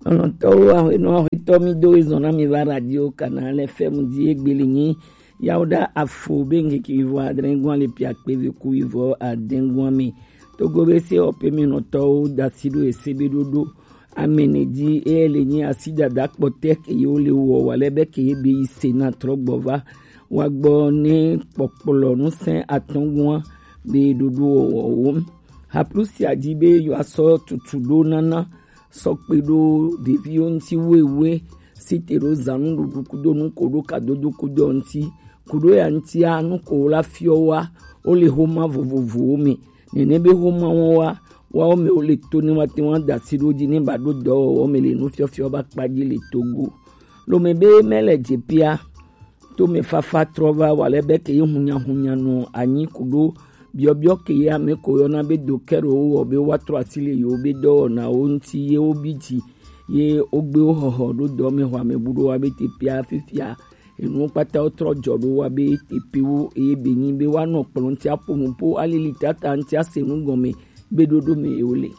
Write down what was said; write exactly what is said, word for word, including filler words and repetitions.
Lɔlɔ̃tɔwo, aƒenɔ, aƒetɔ, mi do ezɔn na mi va Radio Canal F M dzi. Egbeli nyi yawoɖa afo be ŋkeke wuivo adre gɔn le pia kpe ve ku wuivo ade gɔn me. Togo be se ɔpe mi nɔtɔwo dasi ɖo ese be ɖoɖo amene dzi, eye le nyi asi dada kpɔtɛ ke yewo le wɔ wa lɛ be ke ye be yi se na trɔ gbɔ va wa gbɔ ne kpɔkplɔ nu sɛn atɔn gɔn be ɖoɖo wɔwɔ wo. Haplusia dzi be yewoasɔ tutu ɖo nana sɔ kpe ɖo ɖeviwo ŋuti wewe, si te ɖo zãnuɖuɖu kudo nu ko ɖo kadodo kudo ŋuti, kudo ya ŋutia nu ko la fiɔ wa, wo le xoma vovovowo me. Nene be xoma wɔn wa, woawo me wo le to ne woate ŋu ada asi ɖo dzi ne ba ɖo dɔwɔwɔ me le nufiɔfiɔ ba kpa dzi le Togo. Lome be mele dze pia, to me fafa trɔ va wa lɛ be ke ye hunyahunya nɔ anyi kudo biɔbiɔ ke ye ame ko yɔna be do kɛro wɔ be woatrɔ asi le yewo be dɔwɔnawo ŋuti ye wo bi dzi ye wogbe wo xɔxɔ ɖo dɔ me xɔ ame bu ɖo wa be te pia fifia enuwo kpata wo trɔ dzɔ ɖo wa be te pe wo eye be nyi be woanɔ kplɔ ŋuti aƒo nu po alili tata ŋuti ase nu gɔme be ɖoɖo me ye wo le.